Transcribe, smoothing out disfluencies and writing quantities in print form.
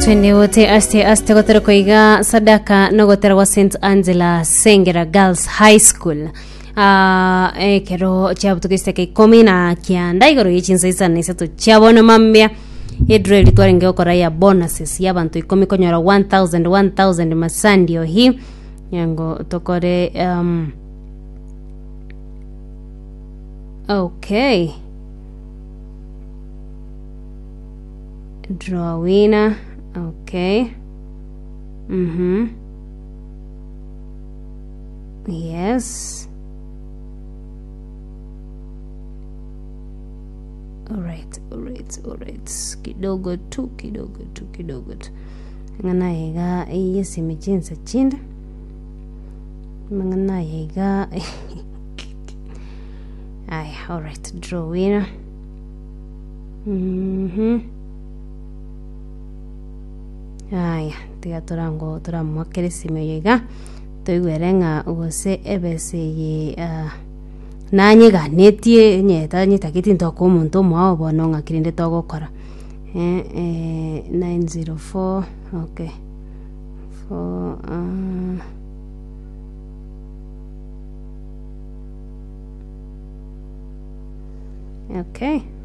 Twende wote aste aste gotera koiga sadaka nogotera gwa St Angela Sengera Girls High School Ah, ekero chiabutuka esiteka ikomi na kianda igoro ye chinsa isano na isato chia bono mambia edro eri twarenge gokora ya bonuses ya abanto ikomi konyora 1000 1000 masandio hi nyango tokore um, okay Draw winner. Okay. Mhm. Yes. Alright, alright, alright. Kidogo tu, kidogo tu, kidogo tu. Ng'ana iga eyesimi chinsa chinde. Ng'ana iga. Aya, alright, draw winner. Mhm. Aya, tiga torango toramoakere esimi oyo iga, toigwere ng'a gose ebesa eye ah, nanyeganetie onye tanyetageti ntokoa omonto omoao bono ng'aki rende togokora. Eh, eh, 904 okay, four ah. Okay.